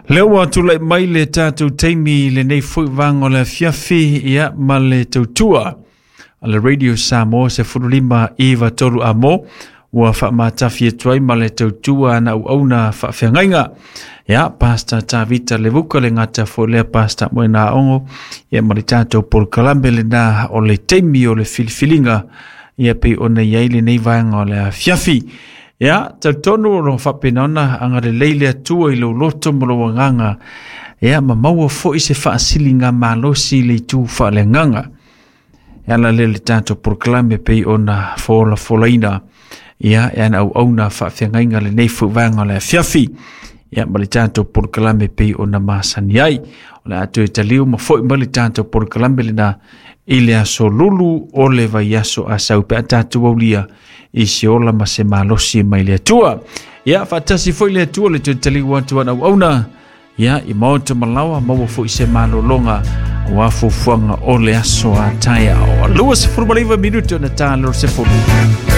Lea ua tulai mai le tatou taimi i lenei foi vaega o le afiafi, ia ma le tautua a le Radio Samoa 15 93 amo ua faamatafi atu ai ma le tautua ana auauna faafeagaiga. Ia, Pastor Tavita Levuka le gata foi lea Pastor Moena Aogo, ia ma le tatou polokalame lena o le taimi o le filifiliga, ia pei ona i ai lenei vaega o le afiafi. Ia, talitonu o lo faapena ona agalelei le Atua i lou loto ma lou agaga, ia ma maua foi se faasiliga malosi i le itu faaleagaga. E ala lea le tatou polokalame pei ona folafolaina, ia e ana auauna faafeagaiga lenei foi vaega o le afiafi. Ia ma le tatou polokalame pei ona masani ai. O le a toe taliu ma foi mai le tatou polokalame lena i le aso Lulu o le vaiaso a sau pe a tatou aulia i se ola ma se malosi mai le Atua. Ia, faatasi foi le Atua le toe taliu atu ana auauna. Ia, i maota malaoa maua foi se malologa aua fuafuaga o le aso a taeao. 29 minute ona ta lor se fulu.